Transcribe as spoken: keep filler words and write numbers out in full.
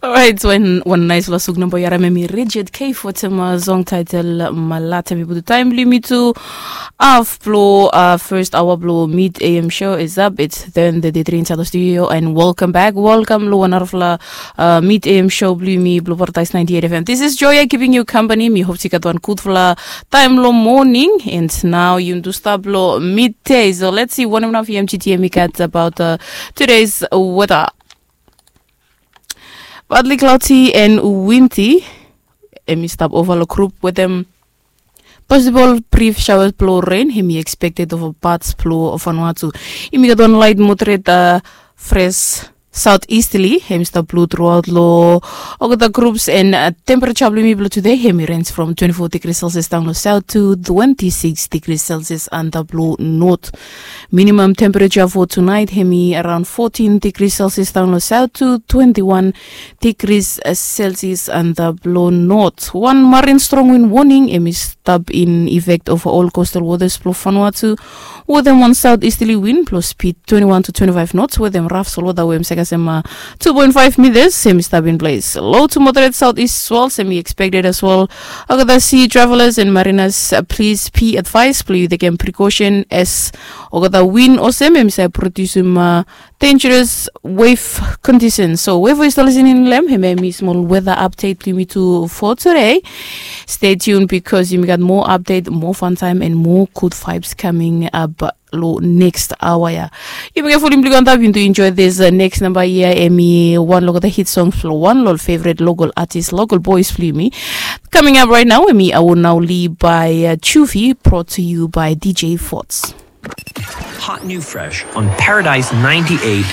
Orait, wan nais long suk namba yu harim em i Rigid K Forte ma song title Malata. Mi putum taem blong yumi tu haf blong first hour blong Mid A M show is up. It's ten thirty-three inside the studio and welcome back. Welcome long wan narafala Mid A M show blong yumi blong Paradise ninety-eight F M. This is Joya keeping you company. Mi hope yu gat wan gudfala taem long morning and now yumi tu stap long midday. So let's see wanem naf M G T M i gat about uh, today's weather. Partly cloudy and windy. Em i stap ova long grup wetem possible brief showers blong rain. Em i expected ova parts blong Vanuatu. Em i gat wan light moderate uh, fresh southeasterly. Em i stap blow throughout long olgeta groups and uh, temperature blong yumi blong today. Em i range from twenty-four degrees Celsius down long south to twenty-six degrees Celsius under blong north. Minimum temperature for tonight, em i around fourteen degrees Celsius down long south to twenty-one degrees Celsius under blong north. Wan marine strong wind warning, em i stap in effect ova ol coastal waters blong Vanuatu. Wetem wan southeasterly wind blong speed twenty-one to twenty-five knots wetem raf solwota we em save kasem uh, two point five meters, em i stap in place. Low to moderate southeast swells, em i expected as well. Olgeta sea travelers and mariners, uh, please be advised blong yu tekem precaution as olgeta wind olsem em i save produsim uh, dangerous wave conditions. So wherever yu stap listening long em, em i smol weather update blong yumi tu for today. Stay tuned because yumi gat more update, more fun time and more good vibes coming up long next hour ya. Yumi gat volume blong yu antap, yu tu enjoy this uh, next namba ya. Em i wan long olgeta hit songs blong wan long ol favorite local artist, local boys blong yumi. Coming up right now, em i Awo Nauli by uh, Chufi, brought to you by D J Forts. Hot new fresh on Paradise ninety-eight